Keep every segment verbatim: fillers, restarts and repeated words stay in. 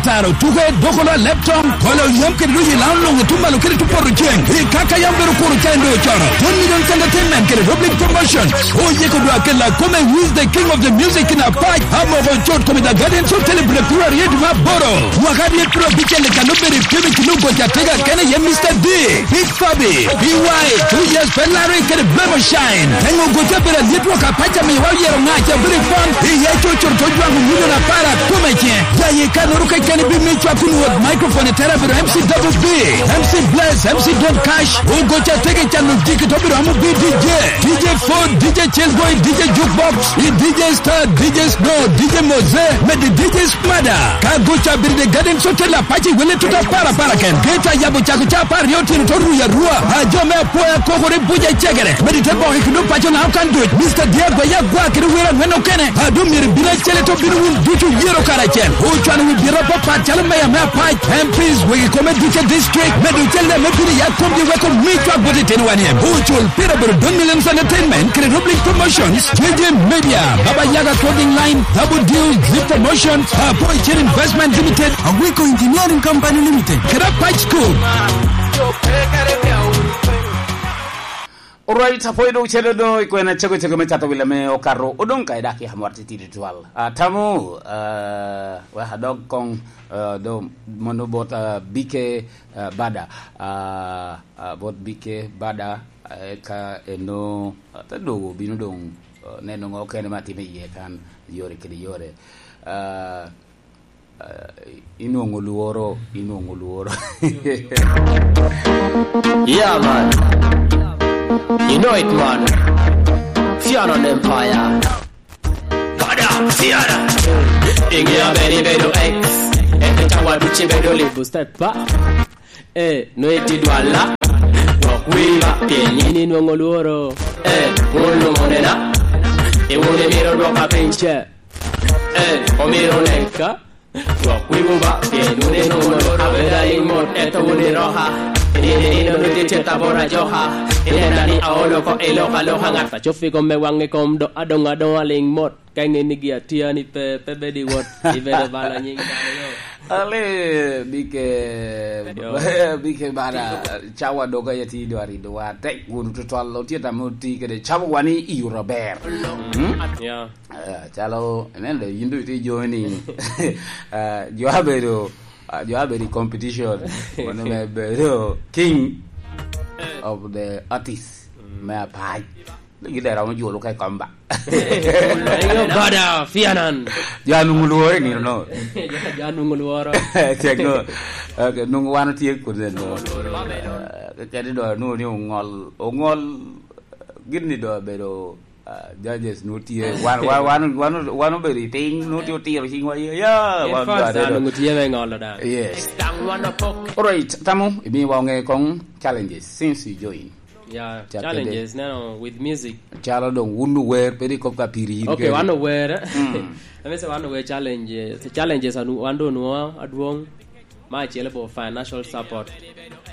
Taro tuke doko lo alep toŋ, kolo yam kede luyo i laŋo luŋ otum malo kede tupoto ceŋ. I kaka yam bedo kuro ca en doŋ ocoro. One Million Entertainment kede Roblic Promotion. Oyeko dwa kela kome Who is the King of the Music in Apac. Amoko cot kome The Guardians Hotel i Bulek Piru Aryo dwe me aboro. Mwaka aryo piru abicel i kano bedo i pimo i kilo goca tega kene ye Mister D. Big Fabi, B Y, Two Years Ferrari kede Blemo Shine. Eŋo goca bedo alyet wok Apac amiwa oyero ŋaca bedo i pon. Iye coco to jwaŋo milion apar akome ce. Jaye kanoro keken bi mi cwak kun wot microphone i tera bedo M C Double B, M C Bless, M C Don Cash. Ogoca tege cano jiki to bedo amo bi D J, D J Ford, D J Chelboy, D J Jukebox, i D J Star, D J Snow, D J Mose, medi D J Mada, ka goca bedo de Garden Hotel Apache wele tuta para para ken. Geta yabo cako ca apar aryo otyeno to ruya arua. A jo me apoya kokore buca cegere. Medi te boko i kino paco na okan duc. Mister Diego ya gwa kede wira ngwen okene. A dum myero bino acele to bino wun ducu yero karacel. Ocwano wi bira papat calo meya me Apac, M Ps, wegi kome duce district. Medo cel me bino ya komgi weko mi cwak bot itino wan iem. Ocul pira bedo Don Millions Entertainment kede Roblin Promotions. J J Media, Baba Yaga Clothing Line, Double Deal, Zip Promotions, Apoy Chain Investment Limited, Agwiko Engineering Company Limited, kede Apac School. Alright, apoy dong cene do i kwena cego cego me cato wila me okato. Odong ka idak ya mor titidi twal. Atamo, uh, wek adog kong, uh, do mono bot, uh, B K, uh, Bada. Uh, uh, bot B K Bada, uh, ka eno, uh, te dogo bino dong, uh, neno ŋo kene ma timo iye kan, yore kede yore. Uh, uh, inwoŋo lworo, inwoŋo lworo. Yeah, man. You know it, man. Fiona on Empire. Bada, Fiona. Ingia beri bedo ex. Eke cawa duci bedo libu step pa. Eh, no iti dwala. Gwok wiba, pien yin inwoŋo lworo. Eh, wun lumonena. E wun imiro dwoka piny ce. Eh, omiro neka. Gwok wiwu ba, pien wun inwoŋo lworo. Abeda in mot, eto wun iroka. Yin inono tye tabora joka. Inena ni aolo ko iloka loka ŋat. Acofi kom me waŋe kom do, adoŋ adoŋ aliŋ mot. Ka iŋe ni gi atia ni pe, pe bed i wot, ibedo bala nyiŋ dano yo. Ale, bike, Yo. Bike bana, cawa doga ya ti dwari dwa tek wunu tutwal, otye tamo ti kede cawa wani i yuro ber. Hmm? Yeah. Eh, calo, ineno da, yin dong itye joni. Eh, jo abedo, ah, jo abedo i competition. Mano me bedo king of the artist. Mm. Me apac. Gin dera romo jolo ka i kom ba. Ayo bada, Fianan. Jo anwoŋo lworo i nino no. Jo, jo anwoŋo lworo. Cek no. Ok, nwoŋo wan otye kede no. Eh, kadi do anwoŋo ni oŋol, oŋol gin ni do abedo, ah, judges nwoŋo tye. Wan, wan, wan, wan, wan obedo i piny, nwoŋo tye otiro ciŋwa, ya, ya, wan fans jo da aryo. Nwoŋo tye me ŋolo da. Yes. Alright, tamo, imiwa oŋe koŋ challenges since you join. Yeah, challenges, neno, with music. Calo dong wun ower, pe rik kop ka piri yin keni. Okay, wan ower. Mm. Let me say, wan ower challenges. Challenges anu-, wan do nwoŋo adwoŋ. Ma acel about financial support.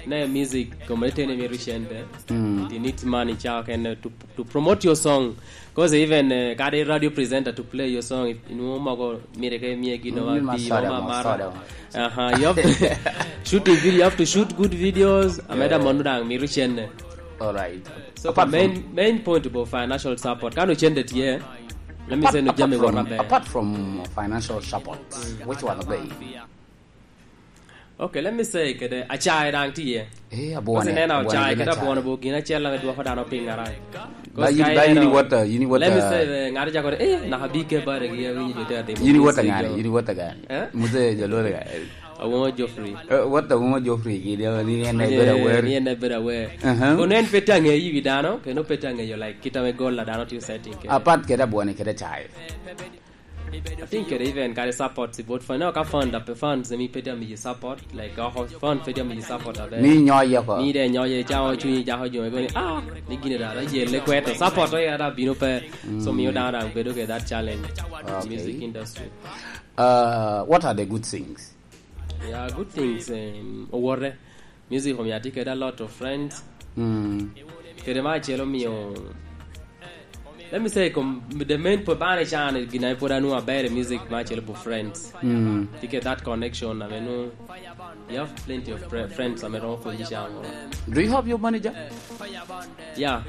Ne music, community ni mito cente. Mm. You need money, cha, can, uh, to, to promote your song. 'Cause even, uh, kadi radio presenter to play your song, if, you know, mogo mire ke mie gino ma bi, ma maro. Aha, you have to shooting video, you have to shoot good videos. Ameda mondo dang miro cene. All right. So apart the main, from main point about financial support. Kano cende tye. Let me say no jami wora be. Apart from financial support, which one of them? Okay, let me say kede acaye dang tye. Eh, abwone. Kasi nena acaye kede abwone bo gin acel ame dwoko dano piny arai. Ba yin, ba yin iwota, yin iwota. Let me say, eh, ng'ato jako, eh, naka bike bare gi awinyo jo te atimo. Yin iwota ngani, yin iwota ngani. Eh? Muse jalore ga. Awongo Geoffrey. Eh, wota Awongo Geoffrey gi de ni en bedo aware. Ni en bedo aware. Uh-huh. Kono en pe tye angeyo wi dano, kendo pe tye angeyo, like, kit ame goal a dano tye setting kede. Apart kede abwone kede acaye. Atin kede even kare support si bot fan. Ka fan da pe fan se mi pe tye amiyi support, like, oko fan pe tye amiyi support abe. Mi nyoye ko. Mi de nyoye ca o cunyi jako jo ego ni, ah, ni gine da, da yelle kweto. Support o ya da bino pe. So miyo dano dang bedo ke that challenge. Okay. Music industry. Uh, what are the good things? Yeah, good things, um, owote. Music omiyo atye kede a lot of friends. Mm. Kede ma acel omiyo Let me say, kom-, the main po-, bane can, gin a pwod anwoŋo aber i music me acel bu friends. Mm. Tye kede that connection, I mean, you have plenty of pre-, friends, I mean, romo pwonyi can. Do you have your manager? Yeah.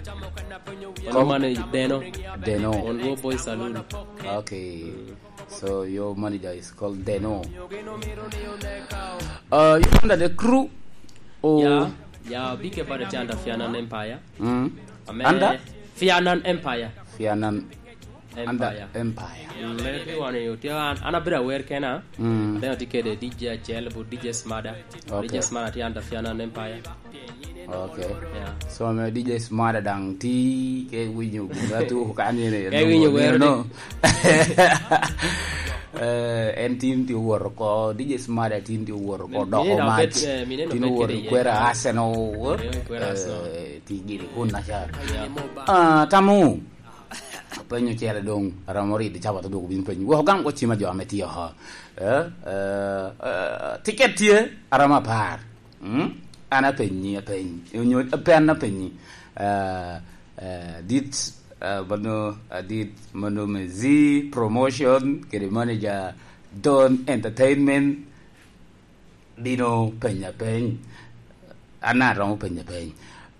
Kom- One manager, Deno. Deno. On Ruo Boy Saloon. Okay. So your manager is called Deno. Uh, you under the crew? Or Yeah, yeah, big about the under Fianan Empire. Mm. Ame Under? Fianan Empire. Fianan Empire. Under Empire. Mm, mere pi wan yo, tye an, an abedo aware kena. Mm. Then atye kede D J acel, bu D J Smada. Okay. D J Smada tye under Fianan Empire. Okay. Yeah. So, ame D J Smada daŋ ti ke winyo gin a tu kan yene. Ke winyo wero no. Eh, en tin ti owor ko, D J Smada tin ti owor ko, Min-, doko mine dok mac. Bet, eh, mine no Tin bet owor kede kwera yen. Arsenal. Mine kwera Arsenal. Eh, ti gini kun na cha. Yeah. Ah, tamu. Penyo cere doŋ, aromo ridi cawa to dwoko bin penyo. Wok gam ko cima jo ame tye oho. Eh, eh, eh, tiket tye, aromo apar. Mm? An apenyi, apeny. Onyo, pe an apenyi. Ah, ah, dit, ah, mano, ah, dit, mano me Z Promotion, kede manager Don Entertainment, bino penya peny. An aromo penya peny.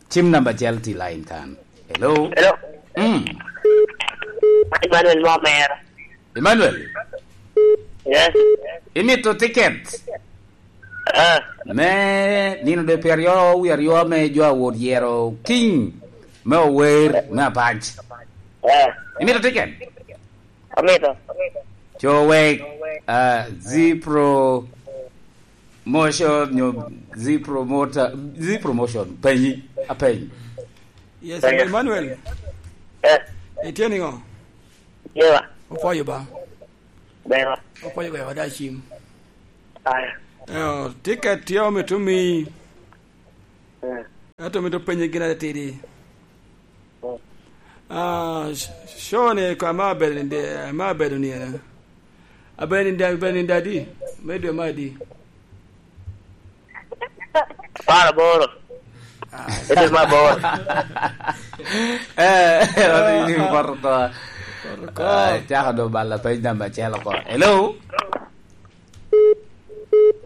Cim namba acel tye line kan. Hello? Hello? Mm. Emmanuel Momera. Emmanuel? Yes. Imito tiket? Ah. Me nino de pyeraryo wie aryo me jo awot yero King me ower me apac. Ah. Imito tiket? Amito. Co wek, ah, Z Promotion, nyo Z Promoter, Z Promotion, penyi, apeny. Yes, Emmanuel. Eh. Itye niŋo? Yewa. Opwoyo ba? Bera. Opwoyo ba, wada cim. Aya. Eh, tiket tye omito mi. Eh. Ento mito penye gin atidi. Mm. Ah, sh-, show ni ko ama abedo ni de, ama abedo ni, eh, abedo ni de, abedo ni de adi? Me dwe ma adi? Apar aboro. Ah. Ete ma bor. Eh, ori ni poto to. Poto ko. Ah, cako do balla page number acel oko. Hello?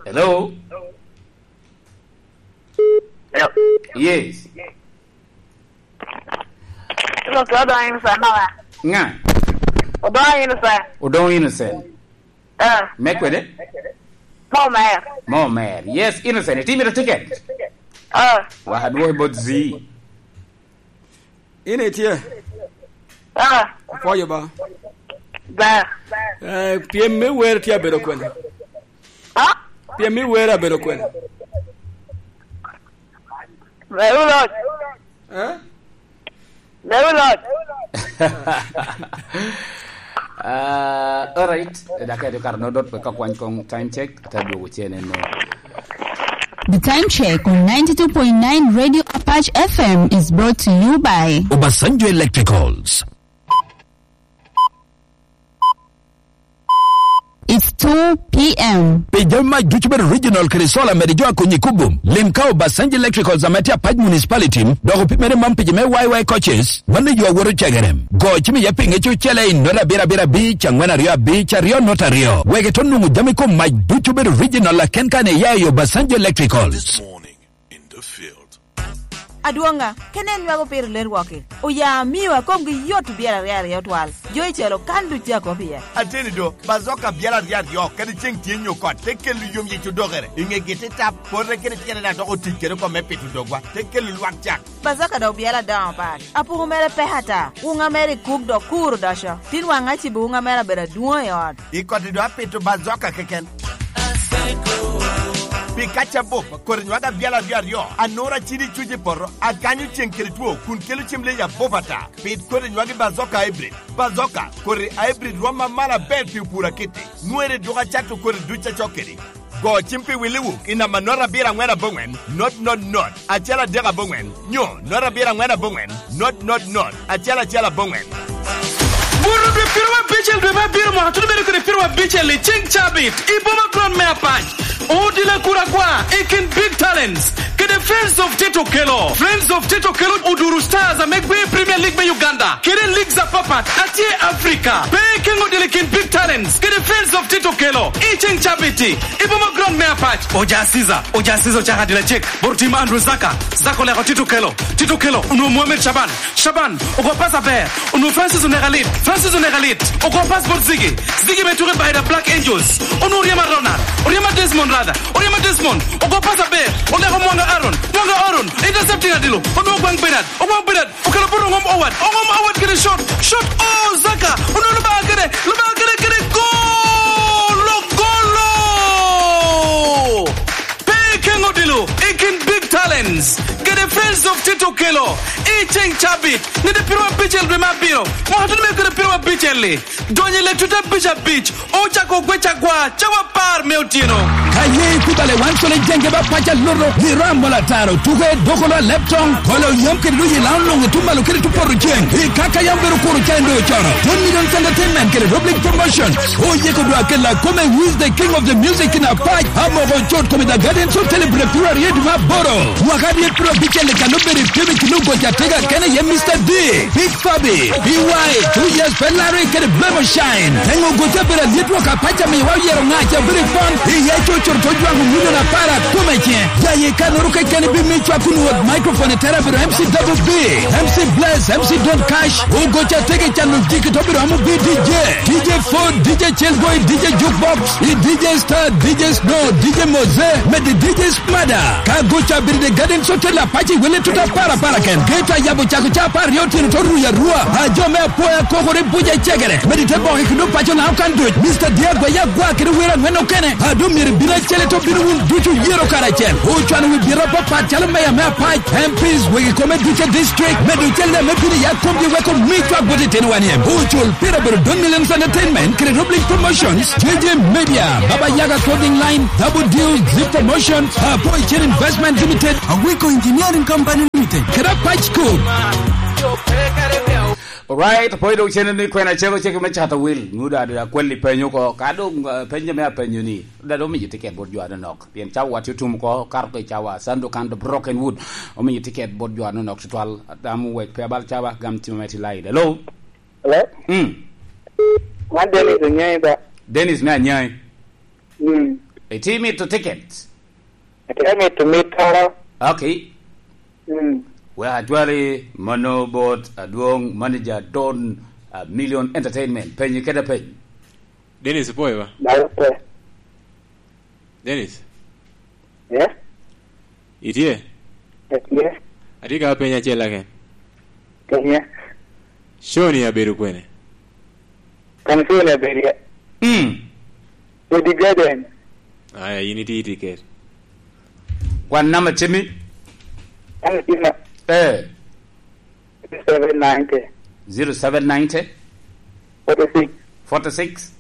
Hello? Hello? Yes. Hello, Odongo Innocent, no, wa? Ŋa? Odongo Innocent. Odongo Innocent. Ah. Me kwede? Mo mer. Mo mer. Yes, Innocent. Itye mito ticket? Ah. Wa, adwoki bot Z. In itye? Ah. Apwoyo ba. Ba. Eh, pyem me wer tye abedo kwene? Ah? Pyem me wer abedo kwene? Meru loc. Eh? Meru loc. Ah, all right. Dak eto kar no dot pe ka kwany kong time check, ata dwogo cene no. The time check on ninety-two point nine Radio Apache F M is brought to you by Obasanjo Electricals. It's two P M. Pi jami mac ducu bedo original kede solar, mede jo akonyi i kubum. Lim ka Obasanjo Electricals ame tye Apac Municipality, dok opimere man pi jo me Y Y coaches, mano yo awoto cegerem. Go cim iye pinge cucele i not abiro abiro abic, angwen aryo abic, aryo not aryo. Wek ito nwoŋo jami kom mac ducu bedo original aken kan iya i Obasanjo Electricals. This morning in the field. Adwoŋa, kene en nywago piro ler wok-ki. Oya amio a komgi yot obyelo aryo aryo twal. Jo i calo kan duc tye akop iye. Ateni do, bazoka byel aryo aryo, kadi ceŋ tye nyo kot, te kelo yom yic odokere. I ŋegi te tap, pote kede tyene daŋ dok otic kede oko me pito dogwa, te kelo lwak cak. Bazoka dok byel adoŋo pat. Apuku mere pek ata. Wuŋa mere i kuk dok kur odoco. Tin waŋ acibo wuŋa mere abedo adwoŋ i ot. I koti do apito bazoka keken. Pi kac abup, kodi nywag abyal aryo aryo, anura cidi cuc i poto, akanyo ceŋ kede two, kun kelo cem leyi abup ata. Pit kodi nywag i bazoka hybrid. Bazoka, kodi hybrid rwom amalo aber pi opur akiti. Nwere dwogo acato kodi duc acok kedi. Go cim pi Willy Wook i namba not abiro angwen aboŋwen, not not not, acel adek aboŋwen, nyo not abiro angwen aboŋwen, not not not, acel acel aboŋwen. Buto dwe piero Abicel dwe me abiro mwaka tuno bedo kede piro abicel i ceng cabit i boma kron me Apac. Odila Kuragwa i kin Big Talents kede Friends of Tito Kelo. Friends of Tito Kelo oduro stars ame gwe i Premier League me Uganda kede leagues apapat atye Africa. Pe keŋ odila i kin Big Talents kede Friends of Tito Kelo i ceng cabit i boma kron me Apac. Oja Caesar, Oja Caesar ocako adila cek. Bor tim Andrew Zaka, Zaka oleko Tito Kelo. Tito Kelo, onwoŋo Mohamed Shaban. Shaban, ogo pas aber. Onwoŋo Francis oneko alit. Francis oneko alit. Ogo pas bot Ziggy. Ziggy me tuke by the Black Angels. Onwoŋo oryema Ronald. Oryema Desmond rather. Oryema Desmond. Ogo pas aber. Oleko Mwanga Aaron. Mwanga Aaron. Intercepting adilo. Onwoŋo Ogwang Bernard. Ogwang Bernard. Okelo bot Ongom Howard. Ongom Howard kede shot. Shot. Oh, Zaka. Onwoŋo Lubanga kede. Lubanga kede, kede golo. Golo. Pe keŋ odilo i kin Big Talents kede Friends of Tito Kelo i ceng cabit, nede piro abicel dwe me abiro, mwaka tuno me kede piro abicel-li, donyo i lek tute abic abic, ocako ogwec agwa cawa apar me otyeno. Ka ye ikubale wan cole jenge ba paca loro, ni ram mola taro, tuke dokolo a leptong, kolo yam kede doji lao longo tumalo kede tupoto ceng, i kaka yam bero kuro cen do coro. Don Millions Entertainment kede Rob League Promotion, oyeko dwa kela kome, who is the king of the music in Apac, amoko cot kome the Guardians of Celebrate February eduma boro. Mwaka dyet piro abicel i kano bere pebe kilo goca tega kene ye Mister D, Big Fabi, B Y, two years Ferrari kede Blemo Shine. Engo goca bere alyet wok Apac amiwa oyero ŋaca bere pon, iye cocoro to jwango milion apar akome ce. Ya ye kanoro kekeni bi mi cwa kun wot microphone i tera bero M C Double B, M C Bless, M C Don Cash, ogoca tege cano jiki to bero amo bi D J, D J Food, D J Chillboy, D J Jukebox, i D J Star, D J Snow, D J Mose, mede D J Smada. Ka goca biri de Garden Hotel Apac i wele tuta para para ken. Geto a yabo cako ca apar aryo otyeno to ruya rua. A jo me apoya kokore buja cegere. Mede te boke kendo paco na okan duc. Mister Dia Gwaya Gwa kede wer angwen okene. A do myero bino acel to bino wun ducu yero karacel. Ocwano wi biro apapat calo meya me Apac, M Ps, wegi kome ducu district. Medo cel me bino ya komgi weko mi cwak bot itino wan iem. Ocul pira bero Don Millions Entertainment, kede Rob League Promotions, J J Media, Baba Yaga Clothing Line, Double Deal, Zip Promotion, Apoy Chen Investment Limited, Awiko Engineering Company Limited, kede Apac School. Alright, apoy dok cene ni kwena cego cego me cato wil. Ngudo adi akwel i penyo ko. Ka dong, eh, penyo me apenyo ni, da dong miyo tiket bot jo anonok. Pien cawa watye otum ko, kato ke cawa, Sando Kando Broken Wood. Omiyo tiket bot jo anonok tutwal. Atamo wek pe abal cawa, gam timo me ti lain. Hello? Hello? Mm. Man Dennis Onyai ba? Dennis me Anyai. Mm. Iti mito ticket? Ati mito mito. Okay. Mm. Well, actually, mano bot adwong manager Don, uh, Million Entertainment. Penyi keda peny. Dennis, ipoyo ba? Dalo pe. Dennis? Yeah? Itye? Atye. Atye ka penyo acel aken. Penye. Show ni abedo kwene? Kan show ni abedo ya. Mm. Odi Garden. Aya, in iti, iti ket. Kwan namba cemi? An cima. Eh. Seven ninety. Zero seven ninety? Forty-six. Forty-six.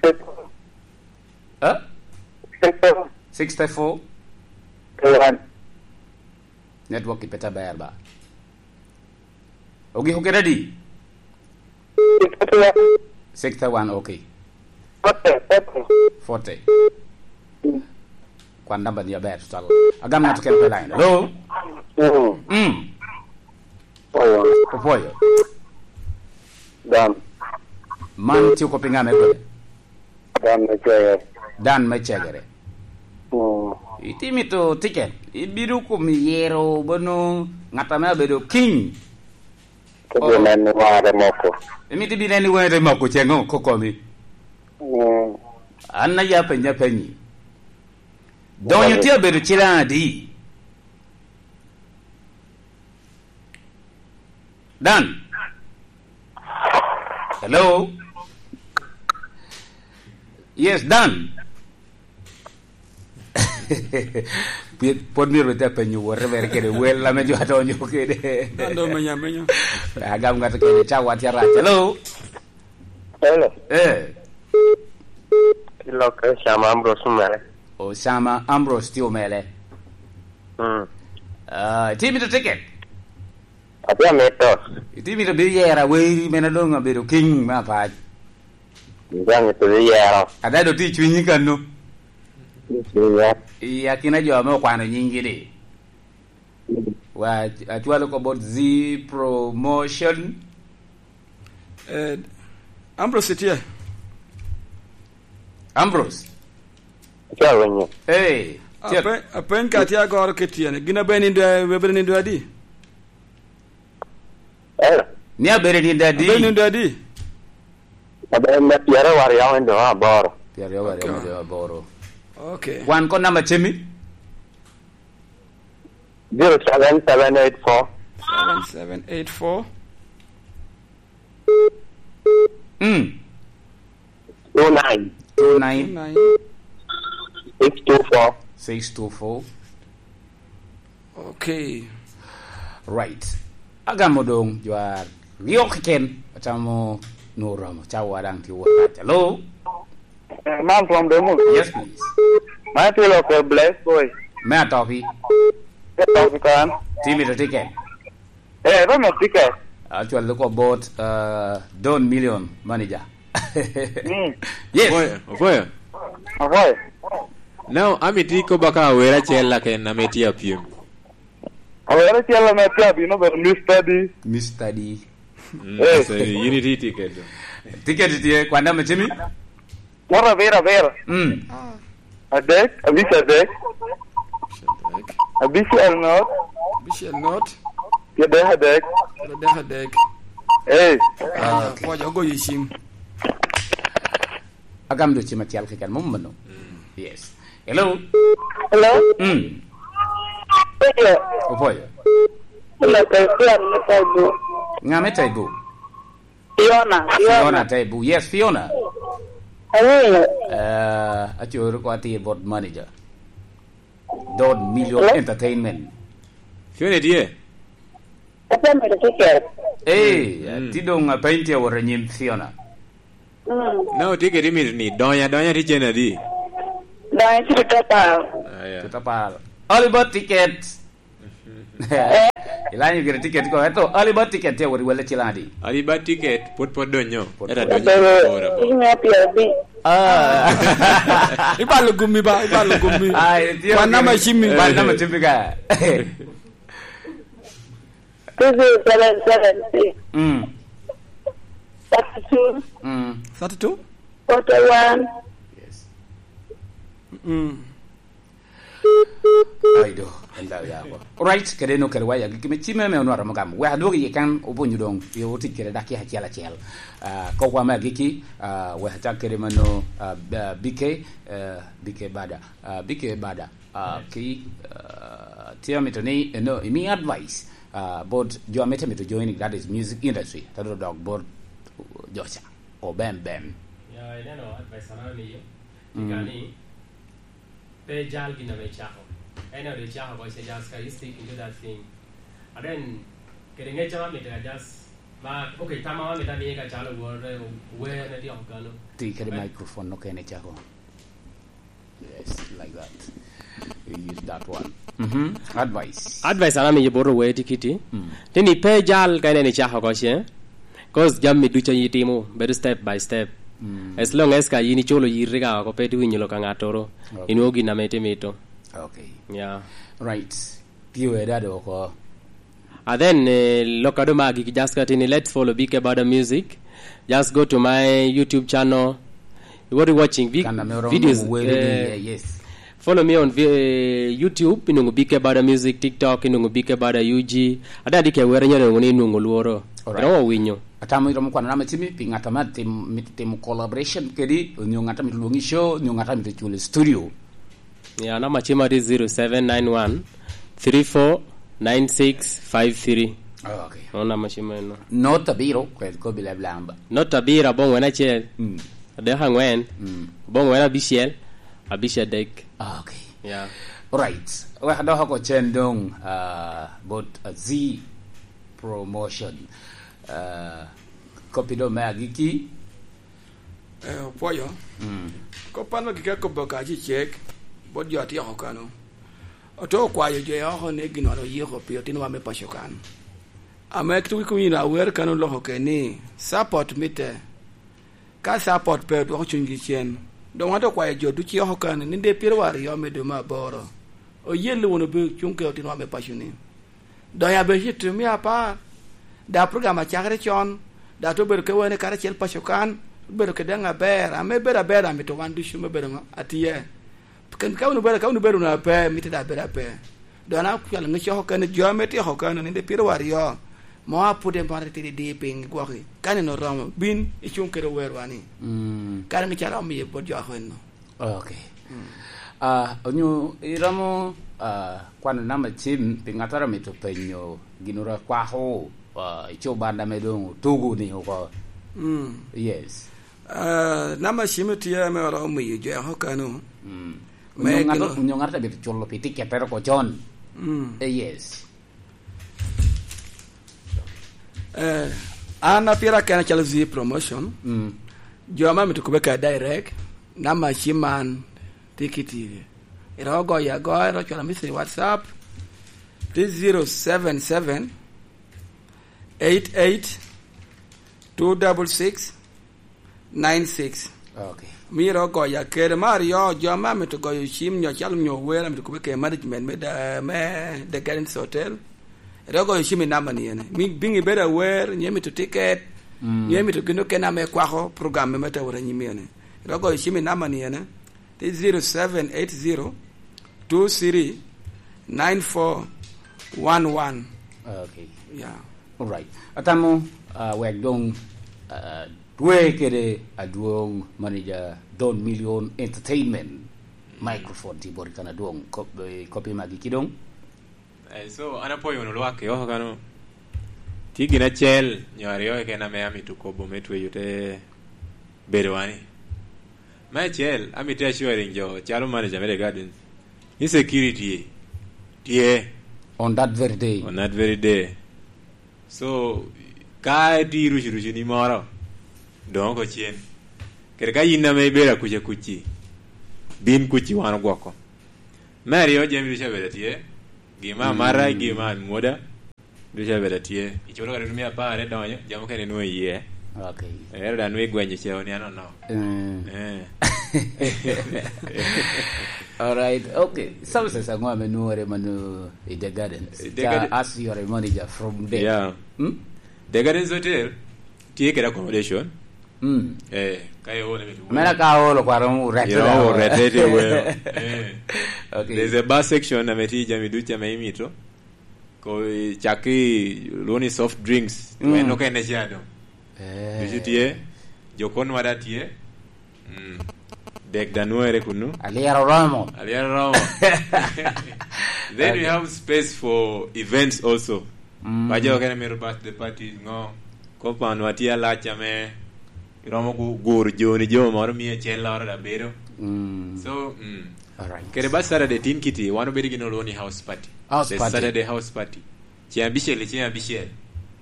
Six. Eh? Six. Sixty-four. One. Network i peta ber ba. Ogiko kede adi? Sixty-one. Sixty-one, okay. Forty, forty. Forty. Mm. Kwan namba ni aber tutwal. Agam ng'ato kene pe line. Hello? Mm. Mm. Oyo. Opoyo. Dan. Man tye kop i ŋa me kwene? Dan me Cegere. Dan me Cegere. Mm. Iti mito ticket, ibido kom yero bono ŋat ame abedo king. Ko Oh. Bi neno ware moko. Imito bi neno ware moko ceŋo kokomi? Mm. An aya penyo apenyi. Donyo Ware. Tye abedo cilaŋ adi? Dan. Hello? Yes, Dan. Pi-, pod myero wete apenyo wote mere kede wel ame jo adonyo kede. Dan do menya, menya. Agam ng'ato kede cawa tye arac. Hello? Hello. Eh. Ilokke Osama Ambrose Omele. Osama Ambrose tye Omele. Mm. Ah, itye mito ticket? Atye amito. Itye mito bino yero aweri mene doŋ abedo king me Apac? Daŋ ito yero. Ada do ti cwinyi kano. Iya. I akina jo ame okwano nyingi di. Wa, acwalo ko bot Z Promotion. Eh, Ambrose tye? Ambrose. Acwalo winyo. Eh, tye. Ape-, apeny ka tye agoro kit tyene. Gin abe nindo, abe nindo adi? Eh. Ni abedo nindo adi? Abe nindo adi? Abe nindo pyeraryo aryo nindo aboro. Pyeraryo aryo nindo aboro. Okay. Wan ko namba cemi? Zero seven seven eight four. Seven seven eight four. Mm. Two nine. Two nine. Two nine. Six two four. Six two four. Okay. Right. Agamo doŋ jo aryo keken, atamo nwoŋo oromo, cawa daŋ tye wot kaca. Hello? Eh, man from Demo. Yes, please. Man tye lok, eh, Blessed Boy. Me atopi. Me atopi kan. Timi to ticket. Eh, ito me ticket. Actually, look about, uh, Don Million manager. Mm. Yes. Ofoyo, ofoyo. Ofoyo. Now, ami ti ko baka awera acel laken ame tye apyem. Awera acel ame tye abino bedo Mister D. Mister D. Mm, eh. So, yin iti ticket do. Ticket tye, kwan namba cemi? Wot abiro, abiro. Mm. Adek, abic adek. Abic adek. Abic el not. Abic el not. Adek adek. Adek adek. Eh. Ah, okay. Pwoc ogoyo i cim. Agam dwe cim acel keken, mom mano. Mm. Yes. Hello? Hello? Mm. Hello. Opoyo. Hello, Christian, me Taibu. Nga me Taibu? Fiona, Fiona. Fiona Taibu. Yes, Fiona. Hello. Eh, acoro ko ati board manager. Don Million Entertainment. Fiona tye? Ate mito tiket. Eh, mm, ti doŋ apeny tye awot anyim Fiona. Mm. Na otiket imito ni, donya, donya ti cen adi? Donya ti tuta paro. Ah, yeah. Tuta paro. Early bird ticket. Ilanyo gire ticket ko, eto early bird ticket tye awot i welle cilaŋ adi? Early bird ticket, pwod, pwod donyo. Pwod, eto pwod donyo. Ito, ito. Ito, ito. Ah. Ibalo gumi ba, ibalo gumi. Ah, ito, ito. Kwan namba cimi. Kwan namba cimi ka. Two zero seven seven six. Mm. Thirty-two. Mm. Thirty-two? Forty-one. Yes. Mm. Ai do, en daŋ yako. Alright, kede no kede waya giki me cime me onwaro mo gamo. Wek adwog iye kan obunyo doŋ, i otic kede dak acel acel. Ah, kop wa me agiki, ah, wek acak kede mano, ah, B-, ah, B K, eh, B K Bada. Ah, B K Bada. Ah, ki, ah, tye amito ni, eno, imi advice, ah, bot jo ame te mito joining, that is music industry, te dok dok bot jo ca, o bem bem. Ya, ineno advice ame amiyo, mm, ika ni, pe jal gin ame icako. En ame icako oko, ice just ka you stick into that thing. And then, kede ngec ame amito ka just, ma, okay, tam ame amito amiye ka calo wor, eh, wer ne tye oko kano. Ti kede microphone no kene icako. Yes, like that. You use that one. Mm-hmm. Advice. Advice an amiyo bot owete kiti. Mm. Tini pe jal ka ineno icako oko ce. 'Cause jami ducu a itimo, bedo step by step. Mm. As long as ka in iculo yiri ka oko, pe iwinyo lok a ŋattoro, okay, inwoŋo gin ame itimito. Okay. Yeah. Right. Piyo edado oko. And then, eh, lok a doŋ magi, just ka tini, let's follow B K Bada Music. Just go to my YouTube channel. What you watching? Vi-, kan ame oromo videos, wer ni, eh, eh, yes. Follow me on vi-, eh, YouTube, inwoŋo B K Bada Music, TikTok, inwoŋo B K Bada U G. Ada di ke wer nyalo ni inwoŋo lworo. Alright. Romo winyo. Atamo iromo kwano namba cimi pi ŋat ame tim-, mito timo collaboration kedi, onyo ŋat ame lwongi show, onyo ŋat ame culo studio. Ya, namba cima tye zero seven nine one three four nine six five three. Oh, okay. Mano namba cima eno. Not abiro, kwed kobi leb lamba. Not abiro, abong wen acel. Mm. Adek angwen. Mm. Abong wen abicel. Abic adek. Ah, okay. Yeah. Alright. Wek adok oko cen doŋ, ah, bot, ah, Z Promotion. Ah, kopi doŋ me agiki. Eh, opwoyo. Mm. Kop an agiki akobo ka acecek, bot jo atyeko kano. Oto okwayo jo oko ni gin wan oyiko pi otinowa me paco kan. Ame tuki kun yin awer kan oloko ke ni, support mitte. Ka support pe, odwoko cunygi cen. Doŋ wan dok okwayo jo ducu i oko kan, ni dee pyeraryo me dwe me aboro, oyelle wunu bi cuŋ kede otinwa me paco-ni. Doŋ ya bene cito mia apar, da program acakere con, da te obedo kede wene karacel paco kan, obedo kede daŋ aber, ame bedo aber amito wan ducu me bedo ŋo? Atye. Ken ka wun obedo, ka wun obedo wunu ape, mitte da bedo ape. Doŋ an akwalo ŋec oko kene, jo ame tye oko kene, nino pyeraryo, mo a pwod en maro tidi di piny gwoki. Ka nino oromo, bin icuŋ kede owerwa ni. Mm. Kara ŋec a romo miye bot jo oko enno. Ok. Mm. Ah, onyo iromo, ah, kwano namba cim pi ŋattoro amito penyo gin oro akwako, ah, i co banda me doŋ otugo ni oko. Mm. Yes. Ah, namba cim tye ame oromo miyo jo oko kano. Mm. Me Onyo ŋato, gino- onyo ŋato amito culo pi tiket tere oko con. Mm. Eh, yes. Eh, an a pira kena calo Z Promotion. Mm. Jo ame amito kube ka direct, namba cim man tye kiti. Iro goyo agoya, iro cwalo message WhatsApp, tye zero seven seven, eight eight, two double six, nine six. Ok. Myero ogoya kede. Me aryo, jo ame amito goyo cim nyo calo nyo wer, amito kube kede management me da-, me The Gardens Hotel. Ero goyo cim i namba ni ene. Mi-, biŋ ibedo awer, nyo imito tiket, mm, nyo imito gin okene ame kwako program me Matawuto anyim ene. Ero goyo cim i namba ni ene. Tye zero seven eight zero two three nine four one one. Ok. Yeah. All right. Atamo, ah, wek doŋ, ah, twe kede adwoŋ manager Don Million Entertainment. Microphone tye boti kan adwoŋ. Kop-, eh, kopi magi ki doŋ. Eh, so, an apwoyo wunu lwak i oko kano. Tye gin acel nyo aryo keken ame amito kobo me tweyo te bedo wani. Me acel, amito assuring jo calo manager me The Gardens ni security tye. On that very day. On that very day. So, ka itye irucu rucu ni moro, doŋ oko cen. Kede ka yin ame ibedo akuca kuci, bin kuci wan ogwoko. Me aryo, jami ducu abedo atye. Gin me amata, mm, gin me amwoda, ducu abedo atye. Iculo kare mia apar, idonyo, jami okene inwoŋo iye. Ok. Ero daŋ nwoŋo igwenyo ceo ni anono. Mm. Eh. All right. Ok. Services aŋo ame nwore mano i The Gardens? The Ca Garden. As you are a manager from there. Yeah. Hmm? The Gardens Hotel tye kede accommodation. Mm. Eh, ka iolo, mera ka olo kwaro urete. Yo, urete te weo. Eh. Okay. There's a bar section ame tye jami ducu ame imito. Ko, eh, cak ki lwongo ni soft drinks. Mm. En okene ca do. Eh. Ducu tye. Jokon wada tye. Mm. Dek da nwere kunu. Alyero romo. Alyero romo. Then we have space for events also. Mm. Ba jo kene mito birthday parties, ŋo. Compound wa tye alac ame iromo gu-, guro joni jo moro mia acel loro da bedo. Mm. So, mm. All right. Kede ba Saturday tin kiti, wan obedo gin olwongo ni house party. House party. The Saturday house party. Ceng abicel i ceng abicel,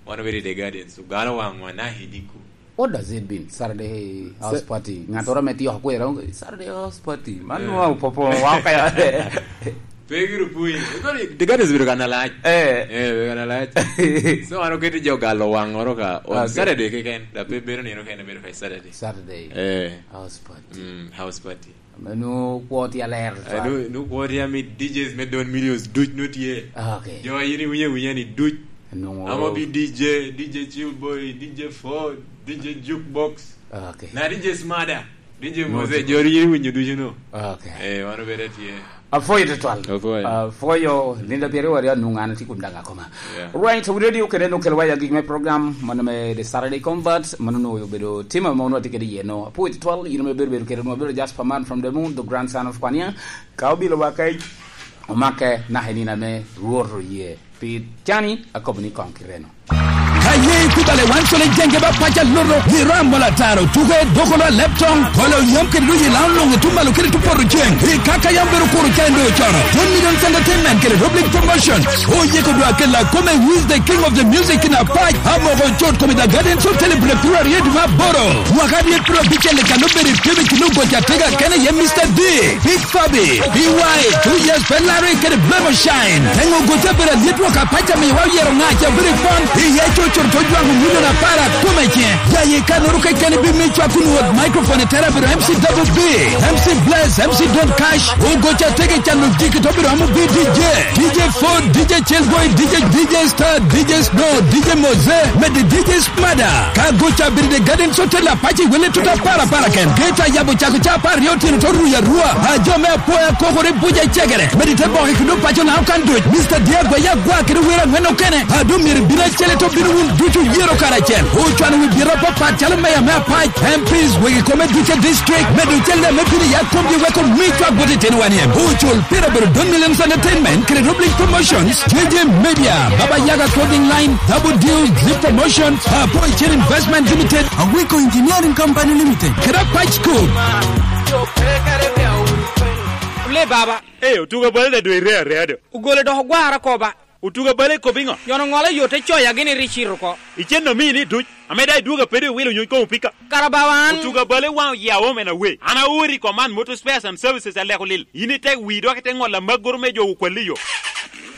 wan obedo i The Gardens, ogalo waŋwa na hediku. What does it mean, Saturday house party? Ŋattoro ame tye oko kwero, "Saturday house party." Man nwa opopo wa oko ya. Pe giro pwony. Koni, The Gardens bedo kan alac. Eh. Eh, bedo kan alac. So, an oketo jo galo waŋoro ka on Saturday keken, da pe bedo nino kene, bedo ka Saturday. Saturday. Eh. House party. Mm, house party. Ame nwoŋo kwo tye aler. Eh, nwoŋo, nwoŋo kwo tye ame D Js me Don Millions duc nwoŋo tye. Ah, okay. Jo a in iwinyo awinya ni duc. Nwoŋo. Amo bi D J, D J Chill Boy, D J Ford, D J Jukebox. Ah, okay. Na D J Smada, D J Mose, jo a in iwinyo ducu nwoŋo. Ah, okay. Eh, wan obedo tye. Apwoyo tutwal. Apwoyo. Apwoyo, linda pyeraryo aryo nwoŋo an atye kun daŋ akoma. Yeah. Right, we radio kede nwoŋo kelo waya gik me program, mano me The Saturday Convert, mano nwoŋo obedo tim ame nwoŋo atye kede iye no. Apwoyo tutwal, in ame bedo, bedo kede nwoŋo, bedo Jasper Man from the Moon, the grandson of Kwania. Ka obilo wa kec, omake naka i nino ame Rwot oye. Pi cani, akobo ni koŋ kireno. Ka ye ikubale wan cole jenge ba paca loro, ni ram mola taro, tuke doko la laptop, kolo yam kede luyi la onongo tum malo kede tu poto ceng. I kaka yam bedo kuro cen do cono. One Million Entertainment kede Rob League Promotion. Oye ko dwa kela kome, who is the king of the music in a patch. Amoko chot kome da Gardens Hotel i Bulek Pura Red ma Boro. Waka ni pro bichele kano beri kebe kilo gocha tega kene ye Mister D. Big Fabi, B Y, two years Ferrari kede Blemo Shine. Tengo gocha bera liet waka pacha mi wa yero ngacha beri fun. Iye chocho To jwaŋo milion apar akome ce. Ya ye kannoro keken ibin mi cwak kun wot microphone i tera biro M C Double B, M C Bless, M C Don Cash, Ogoca Tege Cano Jiki to biro amu bi D J, D J Ford, D J Chelboy, D J, D J Star, D J Snow, D J Moze, medi D J Smada. Ka goca biri de Garden Hotel apaci wele tuta para para ken. Geta yabo cako ca apar ryo tino to ruya rua. A jo me apoya kokore buja cegere. Medi te boke kudo paco na okan duc. Mister Diego ya gwa kede wira ngwen okene. A do myero bino acele to bino wun ducu yero karacel. Ocwano wi biro papat calo meya me apac. M Ps wegi kome duce district. Medo celle me bino ya komgi weko mi cwak bot itino wan iem. Ocul pira bero don millions entertainment kede Roblink Promotions. J J Media, Baba Yaga Clothing Line, Double Deal, Zip Promotions, Apo Chen Investment Limited, Awiko Engineering Company Limited, kede Apac School. Ole baba. Ee, otuga bale da dwe ire area do. Ogole dok ogwara koba. Otuga bale kop iŋo? Yono ŋolo yo te coya gini ri cito oko. Icen omii ni duc. Ame da idwogo apedo iwilo nyuc komo pika. Kara bawa an. Otuga bale waŋ oya omen awe. An aori Command Motor Spares and Services aleko lil. Yin ite wi dok ite ŋolo amaggoro me jo okwalli yo.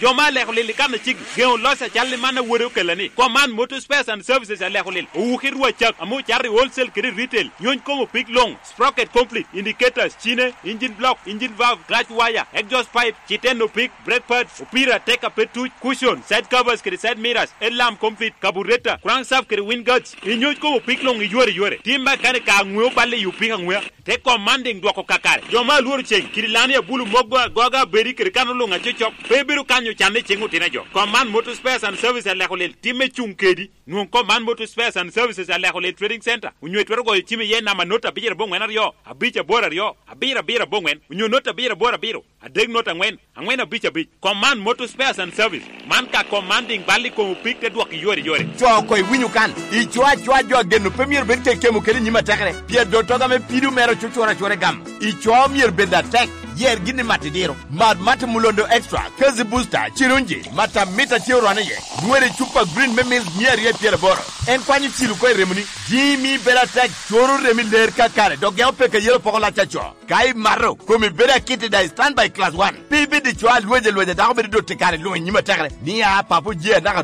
Jo ma aleko lil i kan acik, geŋo loc acal i man awode okella ni, Command Motor Spares and Services aleko lil, owuki rwa cak, ame ocato i wholesale kede i retail, nyony komo pig loŋ, sprocket complete, indicators, cine, engine block, engine valve, clutch wire, exhaust pipe, citeno pig, brake pads, opira, tek a pe tuc, cushion, side covers kede side mirrors, headlamp complete, carburetor, crankshaft kede wind guards, inyony komo pig loŋ i yore yore. Timba kane ka aŋweo balle i opika aŋwea. Te commanding dwoko kakare. Jo ma alworo ceng, kidi lani abulu mogo agoga abedi kede kan oluŋ acocok, pe bedo kanyo can i ceng otino jo. Command Motor Spares and Services aleko lel timme cuŋ kedi. Nwoŋ Command Motor Spares and Services aleko lel Trading Center, onyo itwero goyo cim iye namba not abicel aboŋwen aryo, abic aboro aryo, abiro abiro aboŋwen, onyo not abiro aboro abiro, adek not aŋwen, aŋwen abic abic. Command Motor Spares and Service. Man ka commanding bal i kom opik te dwok i yore yore. Co oko iwinyo kan. Ico acoa jo ageno pe myero bed kekemo kede nyim atekere. Pien dotoga me pido mere ocucura acura i gam. Ico myero bed atek. Yer gin i mat idiro. Mar mat Mulondo Extra, Kazi Booster, Cirunji, mat amit a tye orwane iye. Nwere cupa green me mil mia aryo i pyeraboro. En kwanyo cil oko i remoni. Jimi bedo atek, coro remi ler kakare, dok geo peke yelo poko lac aco. Ka imato, komi bedo akit i daŋ i standby class one. Pe ibed i cwa alwec alwec a dako bedo dot i kare luŋ i nyim atekere. Ni a, papo je anaka